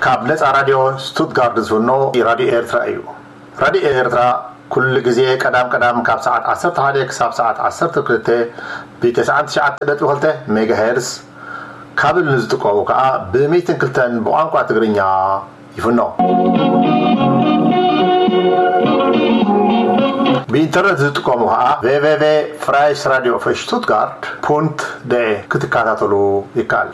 ካብ ነጻ ራድዮ ስቱትጋርድ ዝፍኖ ራድዮ ኤርትራ እዩ። ራድዮ ኤርትራ ኩሉ ግዜ ቀዳም ቀዳም ካብ ሰዓት ዓሰርተ ሓደ ክሳብ ሰዓት ዓሰርተ ክልተ ብ99.2 ሜጋሄርስ፣ ካብል ንዝጥቀሙ ከኣ ብ102 ብቋንቋ ትግርኛ ይፍኖ። ብኢንተርነት ዝጥቀሙ ከኣ www.freies radio für Stuttgart.de ክትከታተሉ ይከኣል።